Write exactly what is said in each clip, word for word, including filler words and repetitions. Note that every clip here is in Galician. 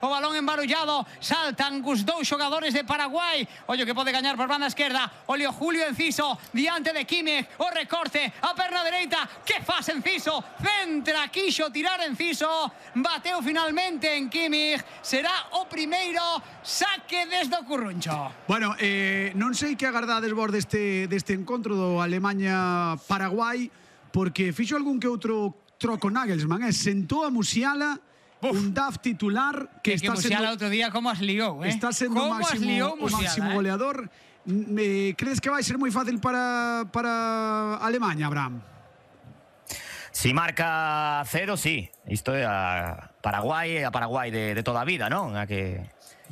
O balón embarullado, saltan os dous xogadores de Paraguai. Ollo que pode gañar por banda esquerda. Olio Julio Enciso, diante de Kimmich. O recorte, a perna dereita. Que faz Enciso? Centra, quixo tirar Enciso. Bateu finalmente en Kimmich. Será o primeiro saque desde o Curruncho. Bueno, eh, non sei que agardades vos deste, deste encontro do Alemanha-Paraguai, porque fixo algún que outro troco Nagelsmann, eh? Sentou a Musiala. Uf. Un D A F titular que, que está que Musiala sendo outro día como as liou, eh? Está sendo o máximo, o máximo goleador. Eh, crees que vai ser moi fácil para, para Alemanha, Abraham? Si marca cero, sí. Isto é a Paraguai, a Paraguai de, de toda a vida, non? A que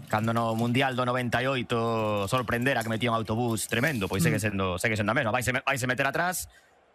cando no Mundial do noventa e oito sorprendera que metía un autobús tremendo, pois segue sendo, segue sendo a mesma. Vaise, vaise meter atrás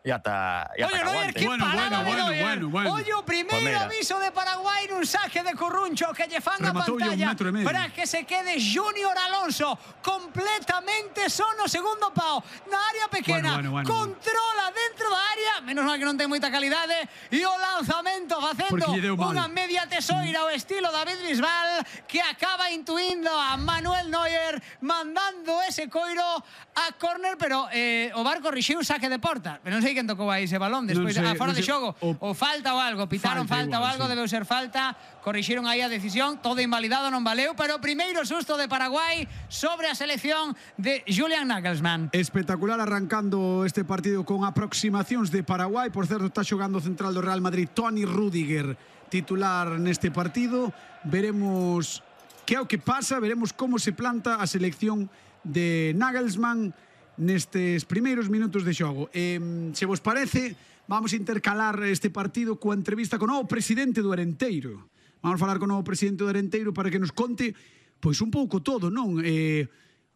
e ata, e ata Oye, Neuer, que bueno, parada bueno, de bueno, bueno, bueno. Oye, o primeiro pues aviso de Paraguai nun saque de Curruncho que lle fan a pantalla para que se quede Junior Alonso completamente só no segundo pau na área pequena, bueno, bueno, bueno, controla dentro da área, menos mal que non ten moita calidade, e o lanzamento facendo unha media tesoira ao estilo David Bisbal, que acaba intuindo a Manuel Neuer mandando ese coiro a córner, pero eh, o Bar corrixiu saque de porta, pero non sei quen tocou aí ese balón despois, a fora de xogo, o falta ou algo, pitaron falta ou algo, debeu ser falta, corrixiron aí a decisión, todo invalidado, non valeu, pero primeiro susto de Paraguai sobre a selección de Julian Nagelsmann. Espectacular arrancando este partido con aproximacións de Paraguai. Por certo, está xogando o central do Real Madrid, Toni Rüdiger, titular neste partido. Veremos que é o que pasa, veremos como se planta a selección de Nagelsmann nestes primeiros minutos de xogo. Eh, se vos parece, vamos a intercalar este partido coa entrevista con o novo presidente do Arenteiro. Vamos a falar con o novo presidente do Arenteiro para que nos conte pois un pouco todo, non? Eh,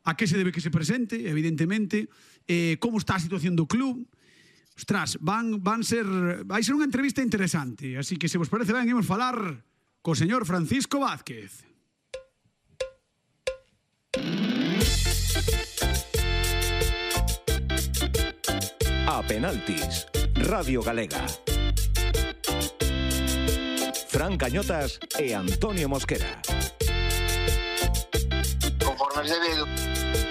a que se debe que se presente, evidentemente, eh, como está a situación do club. Ostras, van, van ser, vai ser unha entrevista interesante, así que se vos parece ben, imos falar co señor Francisco Vázquez. A penaltis, Radio Galega. Fran Cañotas e Antonio Mosquera. Conforme es debido.